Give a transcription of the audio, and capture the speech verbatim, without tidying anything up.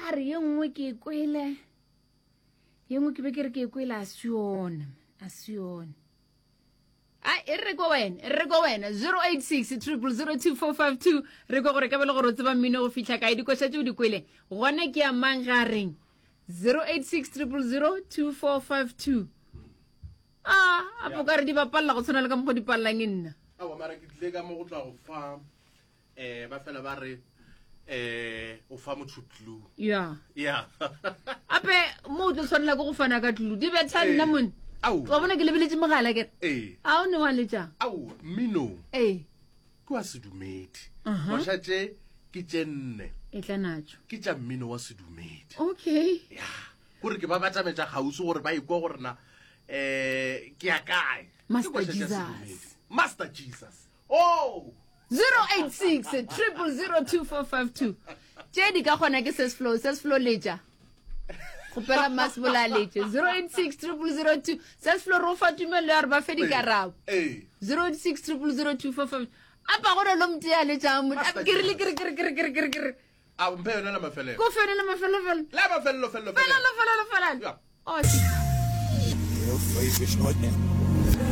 Ba re ye nngwe ke e kwele, ye nngwe ke be ke re ke e kwele, a se yona, a se yona. A e re ko wena, e re ko wena zero eight six triple zero two four five two, re kwa gore ka be le gore o tseba mmino go fihla kae, dikoša tše o di kwele gona ke ya mang ga reng? zero eight six triple zero two four five two. A a po ka re di bapalela go tshwana le ka mokgwa di palelang e nna. Aowa, mara ke tlile ka mo go tla go fa, eh, ba fela ba re, eh, o fa motho clue. Ya. Ya. Ape mo o tlo tshwanela ke go fana ka clue. Di betha nna mone. Ao. Wa bona ke lebeletše mogala ke re. Ee. A o ne wa letša? Ao, mmino. Ee. Ke wa sedumedi. Aha. Koša tše ke tše nne. E tla natšo. Ke tša mmino wa sedumedi. Okay. Ya. Gore ke ba batametša kgauswi gore ba ikwe gore na, eh, ke ya kae. Ke Master koša tša Jesus. sedumedi. Master Jesus. Oh! zero eight six triple zero two four five two. Tše di ka kgona ke Sesflow, Sesflow letša. Kgopela Masebola a letše. zero eight six triple zero two. Sesflow re o fa tumelelo ya gore ba fe dikarabo. Ee. zero eight six triple zero two four five. Apa gore lo motee a letšang mo- Master Ke rile, ke re, ke re, ke re, ke re, ke re, ke re. A mphe yona la mafelelo. Ko fe yona la mafelelo, fela. La mafelelo, felelo, Felelo, felelo. felelo, felelo. Ya. Oh, ke-